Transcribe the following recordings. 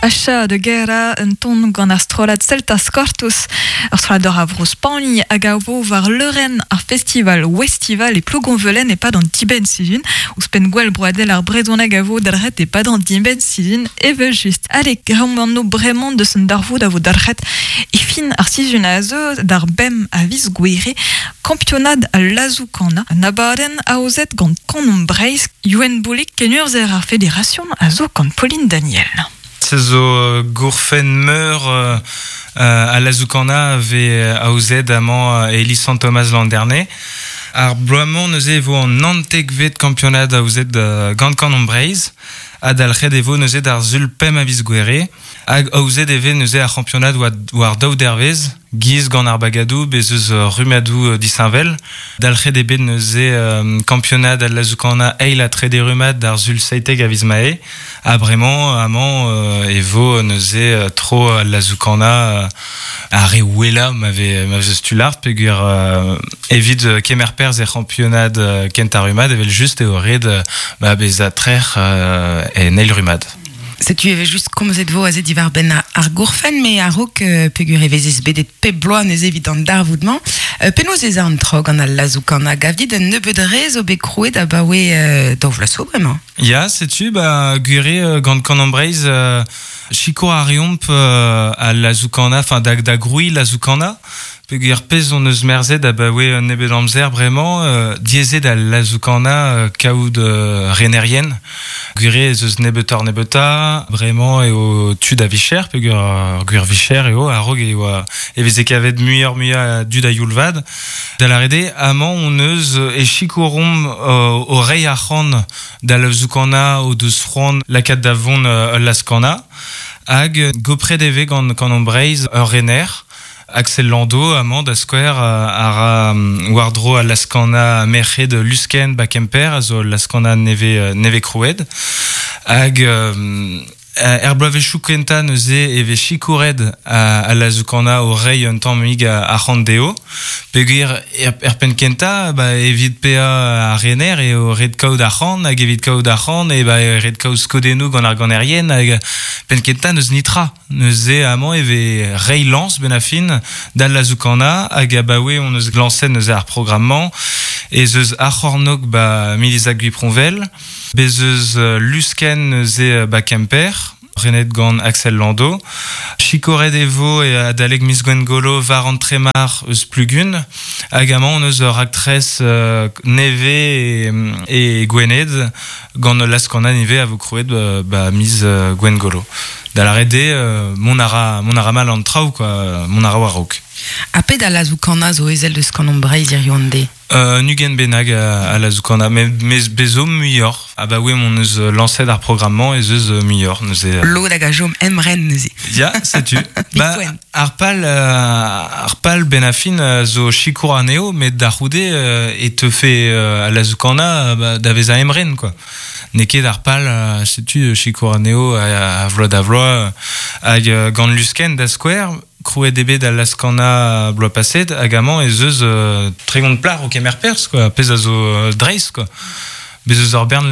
Achat de guerra un ton gant ar strollad Celtas Cortos, ur strollad a vro Spagn hag a vo war leurenn ar festival Westival e Plougonvelen e-pad an dibenn-sizhun. Ouzhpenn gwall broadel ar brezhoneg a vo dalc'het e-pad an dibenn-sizhun evel-just. Ale, greomp anv bremañ deus an darvoud a vo dalc'het e fin ar sizhun a zeu d'ar bemp a viz Gouere, kampionad al lazoù-kanañ, un abadenn aozet gant Kanomp Breizh. Youenn Boulig, kenurzher ar federasion, a zo gant Pauline Daniel. Se zo gourfenn meur al lazoù-kanañ a vez aozet amañ e iliz Sant-Tomaz Landerne. Ar bloaz-mañ neuze e vo an naontekvet kampionad aozet gant Kanomp Breizh ha dalc'het e vo neuze d'ar Sul pemp a viz Gouere. Hag aozet e vez neuze ar c'hampionad war daou dervezh, giz gant ar bagadoù, bez eus rummadoù disheñvel. Dalc'het eo bet neuze kampionad al lazoù-kanañ eil ha trede rummad d'ar Sul 17 a viz Mae. Ha bremañ, amañ, e vo neuze tro al lazoù-kanañ ar re wellañ ma vez ma vez tu lart peogwir evit kemer perzh er c'hampionad kentañ rummad evel-just eo ret ba bezañ trec'h en eil rummad. Setu e vez just komzet vo aze diwar-benn ar gourfenn, met a-raok peogwir e vezez bedet pep bloaz neuze evit an darvoud-mañ, penaos ez a an traoù gant al lazoù-kanañ? Gav dit un nebeud re zo bet krouet abaoe daou vloaz zo bremañ? Ya, setu, ba, gwir eo gant Kanomp Breizh sikour a reomp al lazoù-kanañ, enfin da, da grouiñ lazoù-kanañ. Peogwir pezh hon eus merzet abaoe un nebeud amzer bremañ, diaezet al lazoù-kanañ kaout renerien. Gwir eo ez eus nebeutoc'h-nebeutañ. Bremañ eo tud a vicher, peogwir ur gwir vicher eo. A-raok e oa e veze kavet muioc'h-muiañ a dud a-youl vat. Da lâret eo, amañ hon eus e sikouromp o reiñ arc'hant da lazoù-kanañ o deus c'hoant lakaat da vont ul laz-kanañ. Hag gopret e vez gant Kanomp Breizh ur rener. Axel Landau, amañ da skouer, a ra war-dro al laz-kanañ merc'hed Luskenn ba Kemper, a zo ul laz-kanañ nevez, nevez krouet. Hag er bloavezhioù kentañ neuze e vez sikouret al lazoù-kanañ o reiñ un tammig arc'hant dezho. Peogwir er penn kentañ, ba, evit paeañ ar rener eo ret kaout arc'hant, hag evit kaout arc'hant eo ba, ret kaout skodennoù gant ar ganerien, hag penn kentañ n'eus netra. Neuze amañ e vez reiñ lañs benn ar fin d'al lazoù-kanañ hag abaoe hon eus lañset neuze ar programm-mañ ez eus ar c'hornôg ba Miliza Gwiproñvel, bez eus Luskenn neuze ba Kemper, renet gant Axel Landau. Sikouret e vo adalek miz Gwengolo war an tremar eus Plugun hag amañ hon eus ur raktres nevez e Gwened gant ul laz-kanañ ivez a vo krouet ba miz Gwengolo. Da lâret eo, mont a ra, mont a ra mal an traoù, quoi, mont a ra war-raok. Ha pet a lazoù-kanañ zo ezel deus Kanomp Breizh hiziv an deiz? Un ugent bennak a lazoù-kanañ, met bez zo muioc'h. Abaoe m'hon eus lañset ar programm-mañ ez eus muioc'h neuze. Lod hag a chom emren neuze. Ya, setu. Ba, ar pal, ar pal benn ar fin zo sikour anezho, met da c'houde e teufe al lazoù-kanañ ba, da vezañ emren, quoi. N'eo ket ar pal, setu sikour anezho a vloaz da vloaz hag gant Luskenn da skouer, krouet eo bet al laz-kanañ bloaz paset hag amañ ez eus 30 plac'h o kemer perzh quoi, pezh a zo dreist quoi. Bez eus ur bern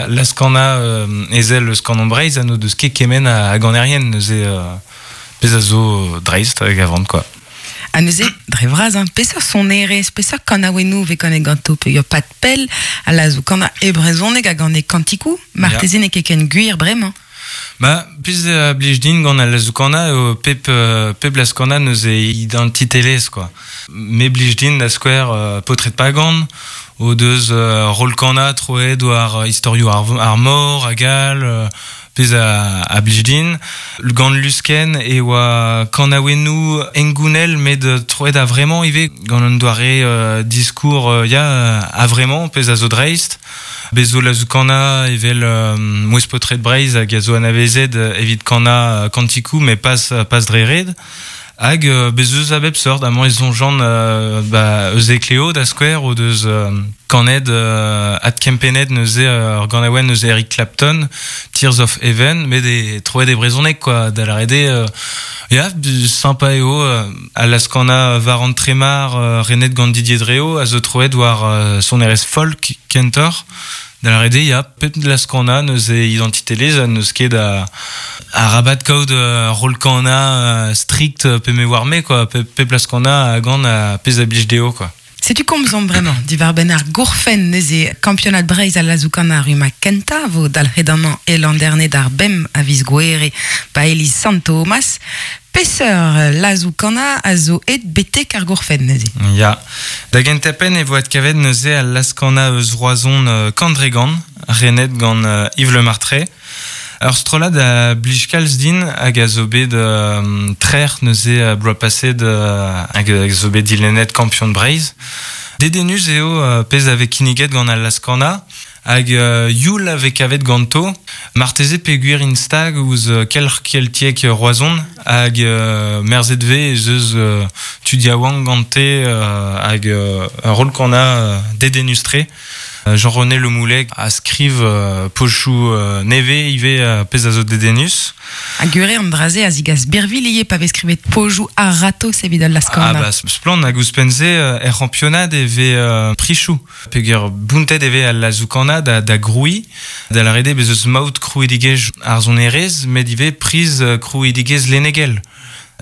laz-kanañ ezel eus Kanomp Breizh ha n'o deus ket kement a ganerien neuze pezh a zo dreist a gavan quoi. Ha neuze, dre vras, hein, peseurt sonerezh, peseurt kanaouennoù vez kanet ganto peogwir pad pell a lazoù-kanañ e brezhoneg hag an e kantikoù, marteze n'eo ket ken gwir bremañ. Ba, pezh a blij din gant al lazoù-kanañ eo pep, pep laz-kanañ neuze identitelezh quoi. Me blij din da skouer Paotred Pagan o deus roll-kanañ troet war istorioù ar mor hag all Pezh a blij din. Gant Luskenn e oa kanaouennoù hengounel met troet a-vremañ ivez gant un doare diskour ya a-vremañ, pezh a zo dreist. Bez zo lazoù-kanañ evel Mouezh Paotred Breizh hag a zo anavezet evit kanañ kantikoù met pas dre ret. Hag bez eus a bep seurt, amañ e soñjan ba, eus Ekleo da skouer o deus kanet adkempennet neuze ur ganaouenn eus Eric Clapton, Tears of Heaven, met e troet e brezhoneg quoi, da lâret eo Ya, sympa eo, a laskana war an tremar renet gant Didier Dreo, a zo troet war sonerezh folk kentor. Da la rede, ya, pep laskana neus e identitelez, neus ket a rabat kaout rolkana strict pe me war me, quoi. Pep laskana a gant a pez a blij deo, quoi. Setu komzomp bremañ diwar benn ar gourfenn neuze kampionad Breizh al lazoù-kanañ ar rummad kentañ vo dalc'het amañ e Landerne d'ar bemp a viz Gouhere ba iliz Sant Thomas. Peseurt lazoù-kanañ a zo aet betek ar gourfenn neuze? Ya. Da gentañ-penn e vo adkavet neuze al laz-kanañ eus Roazhon Kandregan, renet gant Yves Le Martray. Ur strollad a blij kalz din hag a zo bet trec'h neuze bloaz paset hag a zo bet dilennet kampion Breizh. Dedennus eo pezh a vez kinniget gant al laz-kanañ hag youl a vez kavet ganto. Marteze peogwir int stag ouzh kelc'h keltiek Roazhon hag merzet vez ez eus tud yaouank gante hag ur roll-kanañ dedennus-tre. Jean-René Le Moullec a skriv pochoù nevez ivez pezh a zo dedennus. Ha gwir eo an dra-se a zigas birvilh ivez pa vez skrivet pojoù a-ratozh evit al laz-kanañ. Ah bah splann hag ouzhpenn-se er c'hampionad e vez prichoù peogwir bountet e vez al lazoù-kanañ da grouiñ. Da lâret eo bez eus maout krouidigezh ar sonerezh met ivez priz krouidigezh lennegel.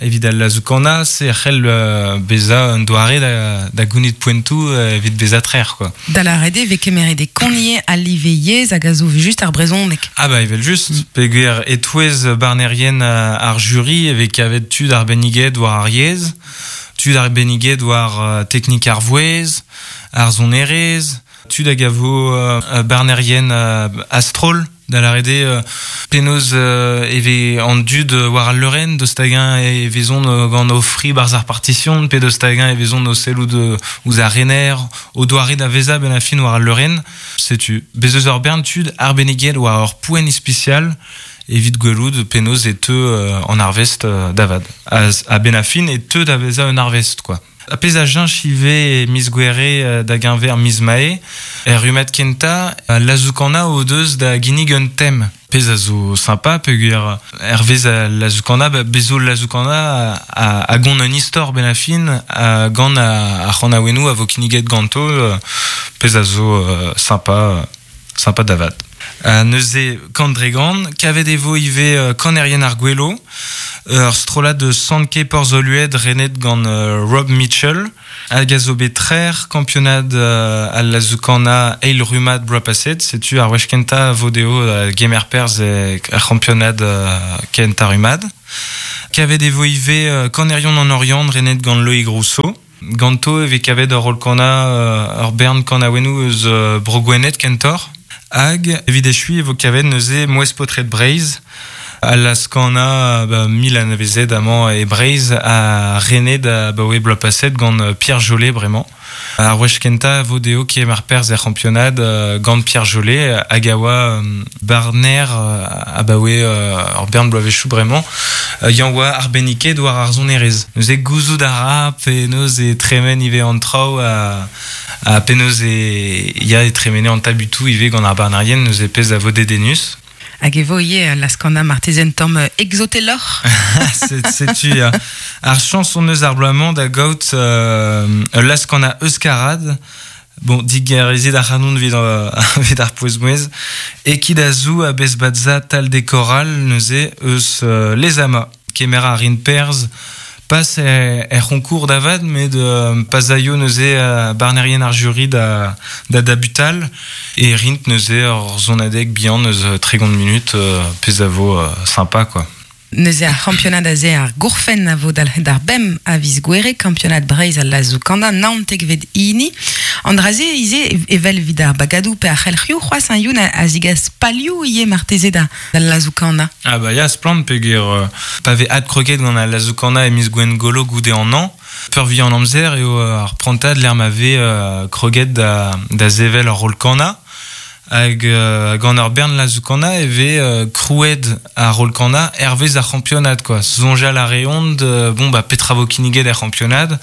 Evit al lazoù-kanañ, se a c'hell bezañ un doare da gounit poentoù evit bezañ trec'h, quoi. Da lâret eo e vez kemeret e kont ivez al live yezh hag a zo just ar brezhoneg. Ah bah evel-just, peogwir e-touez barnerien ar juri e vez kavet tud arbenniget war ar yezh, tud arbenniget war teknik ar vouezh, ar sonerezh, tud hag a vo barnerien a-stroll, da lâret eo penaos e vez an dud war al leurenn, daoust hag-eñ e vezont gant o fri barzh ar partition, pe daoust hag-eñ e vezont o sellout ouzh ar rener, o doare da vezañ benn ar fin war al leurenn. Setu, bez eus ur bern tud arbenniget war ur poent ispisial evit gwelout penaos e teu an arvest da vat. A-benn ar fin e teu da vezañ un arvest, quoi. Ar pezh a cheñch ivez e miz Gouere da geñver miz Mae, er rummad kentañ, al lazoù-kanañ o deus da ginnig un tem. Pezh a zo sympa peogwir hervez al lazoù-kanañ, bez zo lazoù-kanañ a gont un istor benn ar fin gant ar c'hanaouennoù a vo kinniget ganto, pezh a zo sympa, sympa da vat. Neuze, kant dre gant, kavet e vo ivez kanerien ar Gwelo, ur strollad eus Sant-Ke Porzh-Olued renet gant Rob Mitchell, hag a zo bet trec'h kampionad al lazoù-kanañ eil rummad bloaz paset. Setu ar wech kentañ a vo dezho gemer perzh er c'hampionad kentañ rummad. Kavet e vo ivez kanerion an Oriant renet gant Loïg Rousseau. Ganto e vez kavet ur roll-kanañ, ur bern kanaouennoù eus Bro-Gwened kentoc'h. Hag evit echuiñ e vo kavet neuze Mouezh Paotred Breizh, al laz-kanañ ba, mil anavezet amañ e Breizh ha renet abaoe bloaz paset gant Pierre Jolet bremañ. Ar wech kentañ e vo dezho kemer perzh er c'hampionad gant Pierre Jolet hag a oa barner abaoe ur bern bloavezhioù bremañ. Yann oa arbenniket war ar sonerezh. Neuze gouzout a ra penaos e tremen ivez an traoù ha penaos e ya e tremene an tabutoù ivez gant ar barnerien neuze pezh a vo dedennus. Hag e vo ivez laz-kanañ marteze un tamm egzoteloc'h. Setu ya. Ar chañs hon eus ar bloaz-mañ da gaout ul laz-kanañ euskarad. Bon, digarezit ac'hanon evit, evit ar pouez-mouezh. Ekit a zou a bezbadza tal de koral neuze eus Lezama. Kemer a rin perzh pas er c'honkour da vat, met pas aio neuze barnerien ar jury da, da dabutal e rint neuze ur sonadeg bihan eus 30 minut, pezh a vo sympa quoi. Neuze ar c'hampionad aze ar gourfenn a vo dalc'het ar bemp a viz Gouere, kampionad Breizh al lazoù-kanañ naontekvet hini. An dra-se ivez evel evit ar bagadoù pe ar c'helc'hioù c'hoazh un youn a zigas palioù ivez marteze da al lazoù-kanañ. Ah bah ya, splann peogwir pa vez adkroget gant al lazoù-kanañ e miz Gwengolo goude an hañv, peurvuiañ an amzer eo ar prantad lec'h ma vez kroget da sevel ur roll-kanañ. Hag gant ur bern lazoù-kanañ e vez krouet ar roll-kanañ hervez ar c'hampionad quoi. Soñjal a reont bon bah petra vo kinniget er c'hampionad,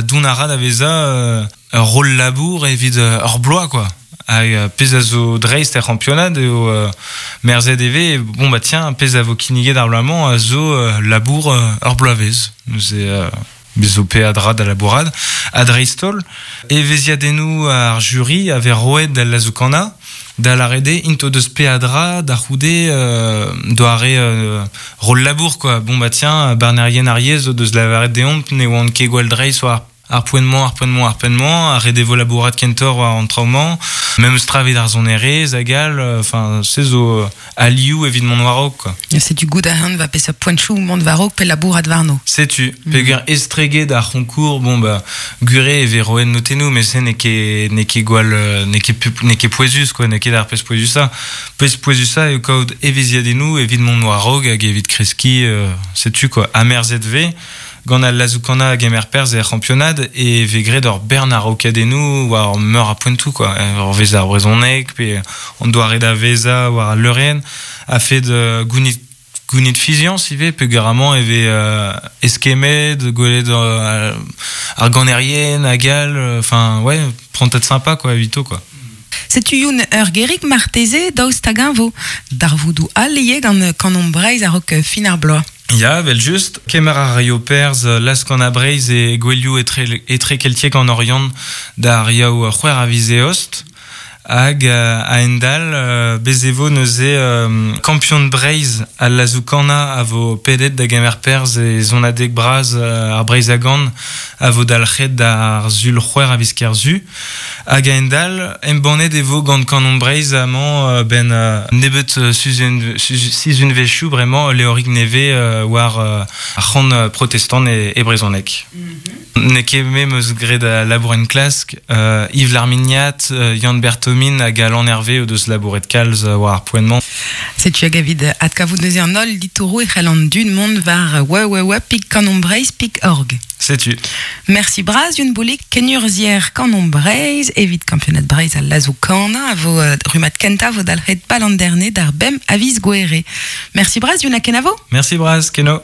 dont a ra da vezañ ur roll labour evit ur bloaz quoi. Hag pezh a zo dreist er c'hampionad eo merzet e vez, bon bah tiens, pezh a vo kinniget ar bloaz-mañ a zo labour ur bloavezh. Neuze bez zo peadra da labourat. Ha dreist-holl, evezhiadennoù ar juri a vez roet d'al lazoù-kanañ, da lâret eo int o deus peadra da c'houde doare roll labour quoi. Bon bah tiens, barnerien ar yezh o deus lavaret deomp ne oant ket gwall dreist war ar poent-mañ, ar poent-mañ, ar poent-mañ, ar ret e vo labourat kentoc'h war an traoù-mañ, memes tra evit ar sonerezh hag all, enfin, se zo alioù evit mont war-raok, quoi. Setu goût a ran va peseurt poentchoù mont war-raok pe labourat warno. Setu, peogwir estreget ar c'honkour, bon bah, gure e vez roet notennoù, met se n'eo ket, n'eo ket gwall, n'eo ket, n'eo ket pouezus, quoi, n'eo ket ar pezh pouezusañ. Pezh pouezusañ eo kaout evezhiadennoù evit mont war-raok hag evit kreskiñ, setu, quoi. Amerzhet 'vez Gant al lazoù-kanañ a gemer perzh er c'hampionad e vez graet ur bern araokadennoù war meur a poentoù quoi. Hervez ar brezhoneg pe an doare da vezañ war al leurenn a-fed gounit gounit fiziañs ivez peogwir amañ e vez eskemmet, gwelet ar ganerien hag all, enfin ouais, prantad sympa quoi evito quoi. Setu Youn ur gerig marteze daoust hag-eñ vo darvoudoù all ivez gant Kanomp Breizh a-raok fin ar bloaz. Ya, evel-just. Kemer a raio perzh Laz-Kanañ Breizh e gouelioù etrekeltiek an Oriant d'ar Yaou c'hwec'h a viz Eost. Hag a-hend-all, bez e vo neuze kampion Breizh al lazoù-kanañ a vo pedet da gemer perzh e sonadeg bras ar Breizh a Gan a vo dalc'het d'ar Sul c'hwec'h a viz Kerzu. Hag a-hend-all, embannet e vo gant Kanon Breizh amañ 'benn nebeut sizhunvezhioù bremañ ul levrig nevez war ar c'han protestant e brezhoneg. N'eo ket me 'm eus graet al labour enklask. Yves Larminiat, Yann Berthomin hag Alan Hervé o deus labouret kalz war ar poent-mañ. Setu hag evit adkavout neuze an holl ditouroù e c'hell an dud mont war www.kanombreizh.org. Setu. Merci bras Youn Boulig, kenurzhier Kanomp Breizh evit kampionad Breizh al lazoù-kanañ a vo rummad kentañ vo dalc'het Palanderne d'ar bemp a viz Gouere. Merci bras Youn ha kenavo. Merci bras, keno.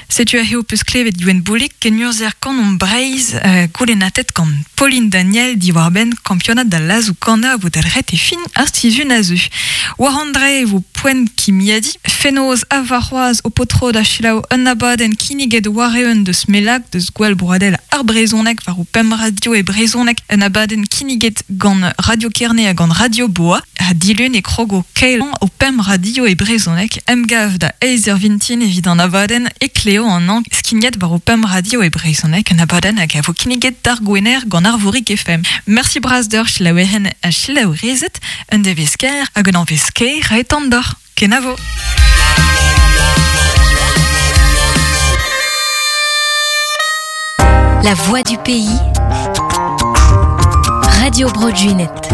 Setu aze ho peus klevet Youenn Boulig, kenurzhier Kanomp Breizh, goulennatet gant Pauline Daniel diwar-benn kampionad al lazoù-kanañ a vo dalc'het e fin ar sizhun a zeu. War an dre e vo poent kimiadiñ. Fenoz ha warc'hoazh ho po tro da selaou un abadenn kinniget war-eeun deus Mellag, deus Gouel Broadel ar Brezhoneg war ho pemp radio e brezhoneg. Un abadenn kinniget gant Radio Kerne ha gant Radio Boa. Ha dilun e krogo kaelañ ho pemp radio e brezhoneg. Emgav da eizh eur vintin evit an abadenn Ekleo an hañv skignet war ho pemp radio e brezhoneg. Un abadenn hag a vo kinniget d'ar Gwener gant Arvorig FM. Mersi bras deoc'h selaouerien ha selaourezed. Un devezh kaer hag un hañvezh kaer a etan deoc'h. Kenavo! La voix du pays. Radio Bro Junet.